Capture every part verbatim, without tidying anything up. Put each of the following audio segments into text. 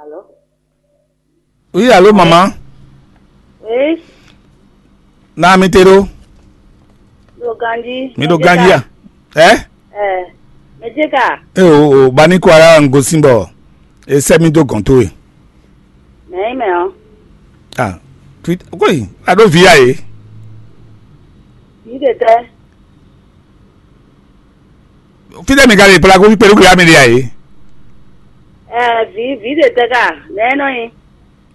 Alo? Oui, allô, maman. Oui. Na mi te ɖo. Ɖo ganji. Mi ɖo ganji a? Ɛ? Ɛ. Mɛjeka. E o o bani ko ara n gosin bɔ e sɛ mi do gɔn to e. Mɛ yi mɛ ɔ. Ah, tweet koi, a ɖo vi a ye. Vi de tɛ. Fítɛ́ mi ka ɖe kplá kó kpé lókè amì ɖe ǎ é? Ɛɛ, vǐ vǐ ɖe tɛ́ ka nɛ̌ nɔ nyi?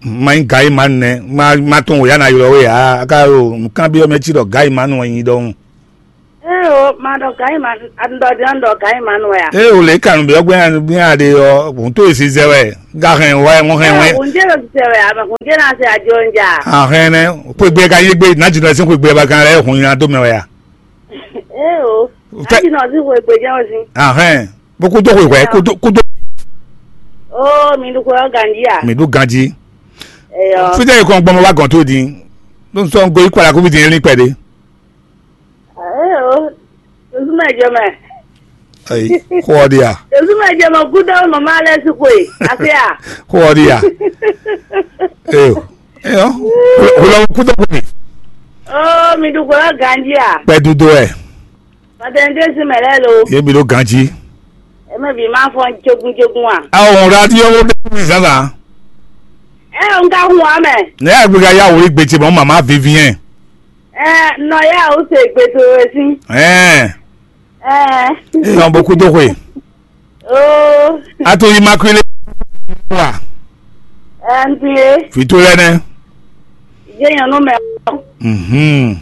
Ma nyí Gayimanu nɛ́, ma ma tunwun wǒ yá ná ylɔ́ we ǎ, a ka ɖo nǔkanbyɔ́ mɛ cí ɖɔ Gayimanu wɛ nyí ɖɔhun. Ée o, ma ɖɔ Gayimanu, a ɖɔ din ɖɔ Gayimanu wɛ a? Ée o lě ka nǔ byɔ́ gbɛ́ gbɛ́ a ɖe ɔ́, hǔn tó e zizɛ wɛ, ga hɛn wɛ, wọ́n hɛn wɛ. Hǔn jẹ́ ló zizɛ wɛ, a mɛ hǔn jẹ́ ná se ajo ń jà. Ahɛn nɛ́, xwé gbé ka nyí gbé, ná jǐnɔ sín xwé gbé ba kan lɛ́ hun nyi ná dó mɛ wɛ a? Ée o, Fɛ- aji nɔ sí xwe gbé jẹ́ wɛ sí. Ahɛn, bó kúdó xwe hwɛ, kúdó kúdó. Ó, mi ɖu xwe ɔ́ ganjí a? Mi ɖu ganjí. Eyɔ. Fítɛ́ yìí kɔn gbɔmɔ wá gɔn tó din. Ló ń sọ ń goyí kpala kó fi din yẹn ní pɛ̀lú. Ée o, tòsúmọ̀ ẹ̀jọ̀ mẹ́. Ayi, xó ɔ ɖi a? Tòsúmọ̀ ẹ̀jọ̀ mọ̀ kúdó màmá alẹ́ sí xwe, àfi à? Xó ɔ ɖi a? Eyɔ, eyɔ, wòlɔ kúdó xwe. Ó, mi ɖu xwe ɔ́ ganjí a? Pɛ́ dúdú ɛ. Pàtẹ́ńdé sí mɛ lɛ́ɛ lo. Yé mi ɖó ganjí. Eme bǐ ma fɔn jogun jogun a? Awɔ radio wo bɛ mi zan zan. Ɛ n ka hun amɛ. Ne yà gbéga yà wòlí gbèjì mɔ màmá vivien. Ɛ nɔ yà ó se gbèsè wɛ sí. Ɛn. Ɛ. Eyɔn bó kúdó xwe. Oo. A to immaculé. Wa. Ɛ n tun ye. Fito lɛ nɛ. Jẹ́ yẹn nú mɛ. Mhm.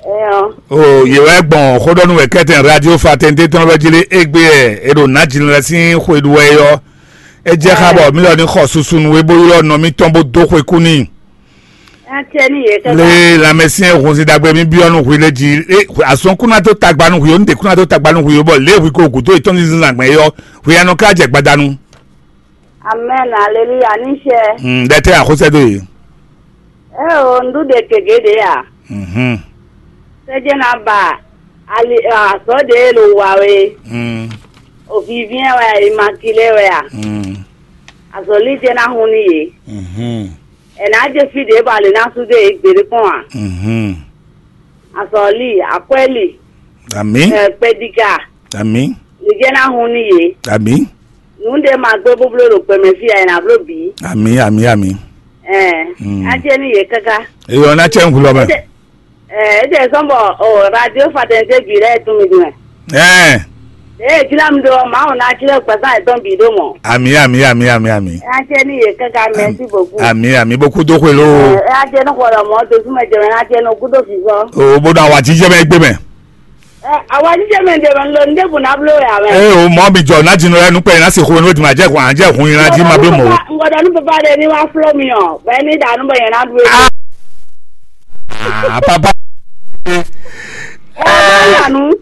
Eyɔn. O yě wɛ gbɔn xóɖɔnú wɛ kɛtɛn radio fatɛnte tɔn wɛ jí lé égbé ɛ e ɖo nǎjínú lɛ sín xwe ɖu wɛ é ɔ́. É jẹ́ xá bɔ mí lɔ ní xɔ susu nú é bó ylɔ́ nɔ mítɔn bó dó xwe kú n'i. Atɛ́ ní yě kɛ́. Lé lanmɛsyɛn hunzin ɖagbe mí byɔ́ nú hwi lé jí. Azɔn kú ná dó tagba nú hwi ó, nǔɖé kú ná dó tagba nú hwi ó, bɔ lě hwi ko gǔdo yětɔn ní zínzán gbɛn é ɔ́, hwi anɔ ká jɛ gbadanu. Amɛn, aleluya, ní sɛ. Mm, ɖɛ tɛ axɔsɛ do ye. Ɛ o, nɖu ɖe gege ɖe a? Mhm. Sɛjɛ na ba ali azɔ ɖe lo wa we. Mm. O vivien wɛ a, imakile wɛ a? Mm. Azɔli jɛ na hun ni ye. Mhm. Ɛ na je fi ɖe ba le na su de gbeɖe kɔn a? Mhm. Azɔli, akwɛli. Ami. Ɛ, kpɛdika. Ami. Li jɛ na hun ni ye. Ami. Nǔɖé ma gbé búbló ɖo gbɛmɛ fí a, è nǎ bló bǐ. Ami, ami, ami. Ɛɛ, mm. Á jẹ́ ní yě káká. Eyɔ ná tsɛ ŋkulɔ mɛ. Ɛɛ, é jẹ́ sɔ́n bɔ o radio fatɛnté bǐ lɛ́ɛ tún mi dun mɛ. Ɛɛ. Ee, jlá mi ɖo ɔ́, Mawu ná jlɛ́ gbɛzán yětɔn bǐ ɖó mɔ̌. Ami, ami, ami, ami, ami. Á jẹ́ ní yě káká, merci beaucoup. Ami, ami, bó kú dó xwe ló. Ɛɛ, á jẹ́ ní xɔ lɔ mɔ̌, dosúmɛ jɛ mɛ ná jẹ́ ní kú dó fífọ́. O bó ɖo awǎjijɛ mɛ gbé mɛ. Ɛ, awǎjijɛ mɛ ɖe mɛ lo ní ɖěbǔ ná bló wɛ ǎ mɛ. Eye o mɔ mi jɔ ná jinu lɛ nukpɛ ná se xo nú eduma jɛ hwan jɛ hun yina jí ma bló mɔ. Ŋgɔdɔ ní papa ɖe ní wá fló mi ɔ, bɛ ní ɖa nú bɔ yẹn ná ɖu é. Ah, papa. Ɛ bá yà nú.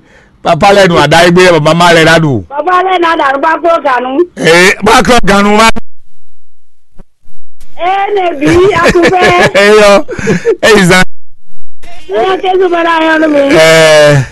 Papa lɛ nu ada egbe bɔ mama lɛ na ɖu. Papa lɛ ná ɖa nú bá kó ganu. Ee bá kó ganu ma. Ee ne bí atúfẹ́. Eyɔ eyi zan. Ẹ yọ Jésù bá dá yọ nú mi. Ɛɛ.